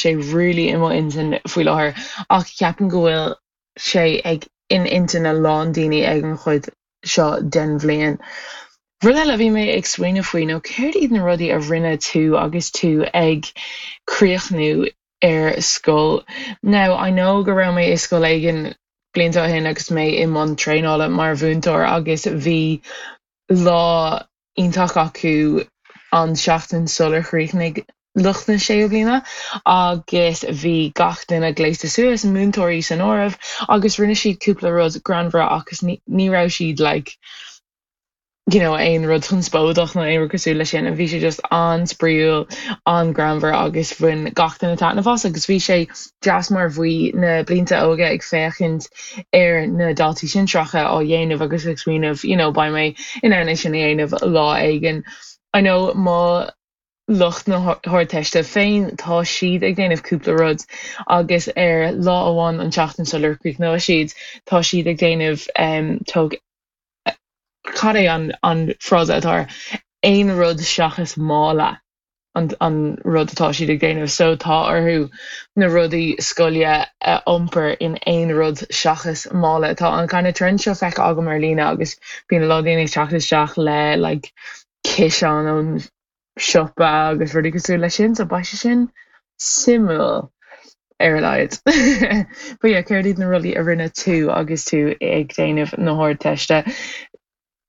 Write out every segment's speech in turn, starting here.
sé really i mo intinn faoi láthair ach ceapaim go bhfuil sé ag in intinn a lán daoine ag an chuid seo den bhliain. Rud eile a bhí mé ag smaoineamh faoi nó céard iad na rudaí a rinne tú agus tú ag críochnú ar scoil? Now I know go raibh mé i scoil éigin blianta ó shin agus mé i mbun traenála mar mhúinteoir agus bhí lá iontach acu an seachtain sular chríochnaigh lucht na séú bliana agus bhí gach duine gléasta suas, múinteoirí san áireamh, agus rinne siad cúpla rud greannmhar agus ní raibh siad like you know aon rud conspóideach nó aon rud cosúil leis sin, bhí sé just an-spraíúil, an-greannmhar agus bhain gach duine taitneamh as agus bhí sé deas mar bhí na blianta óga ag féachaint ar na daltaí sinsearacha á dhéanamh agus ag smaoineamh you know beidh mé in ann é sin a dhéanamh lá éigin. I know mo lucht na hArdteiste féin tá siad ag déanamh cúpla rud agus ar lá amháin an tseachtain sular chríochnóidh siad tá siad ag déanamh um, tóg cad é an, an frása atá air aon rud seachas mála. an an rud atá siad ag déanamh so tá orthu na rudaí scoile a iompar in aon rud seachas mála. Tá an kind of trend seo feicthe agam ar líne agus bíonn a lán daoine ag teacht isteach le like ciseán ón siopa agus rudaí cosúil leis sin so beidh sé sin suimiúil ar a laghad. But yeah céard iad na rudaí a rinne tú agus tú ag déanamh na hArdteiste?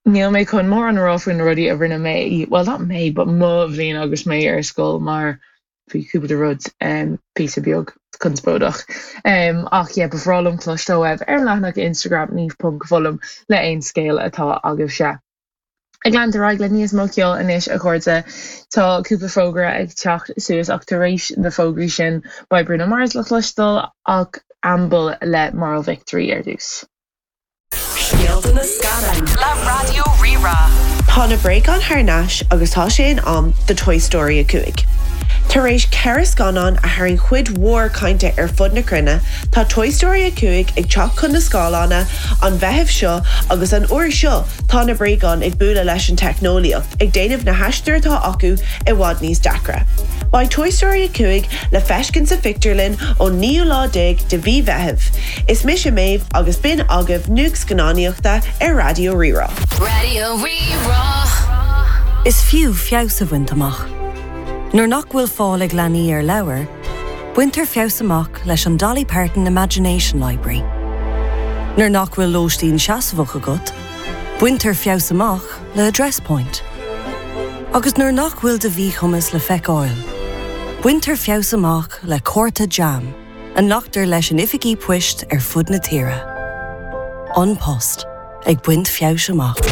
Níl mé chun mórán a rá faoi na rudaí a rinne mé, well not mé, but mo bhliain agus mé ar scoil mar bhí cúpla rud píosa beag conspóideach. Ach yeah, ba bhreá liom cloisteáil uaibh ar an leathanach Instagram niamh.foghlaim le aon scéal atá agaibhse. Ag leanúint ar aghaidh le níos mó ceoil anois a chairde, tá cúpla fógra ag teacht suas ach tar éis na fógraí sin beidh Bruno Mars le cloisteáil ach Amble le Moral Victory ar dtús. Scéalta na Scannán le Raidió Rí-Rá. Tá na bréagáin thar n-ais agus tá sé in am do Toy Story 5. Tar éis 4 scannán a tharraing cuid mhór cainte ar fud na cruinne, tá Toy Story 5 ag teacht chun na scáileána an Mheitheamh seo agus an uair seo tá na bréagáin ag bualadh leis an teicneolaíocht, ag déanamh na haistir atá acu i bhfad níos deacra. Beidh Toy Story 5 le feiscint sa phictiúrlann ón naoú lá déag de mhí Mheithimh. Is mise Méabh agus b'in agaibh nuacht scannánaíochta ar Raidió Rí-Rá. Raidió Rí-Rá. Is fiú feabhas a bhaint amach. Nuair nach bhfuil fáil ag leanaí ar leabhair, baintear feabhas amach leis an Dolly Parton Imagination Library. Nuair nach bhfuil lóistín seasmhach agat, baintear feabhas amach le Address Point. Agus nuair nach bhfuil do mhíchumas le feiceáil, baintear feabhas amach le cárta JAM. a nglactar leis in oifigí poist ar fud na tíre. An Post, ag baint feabhais amach.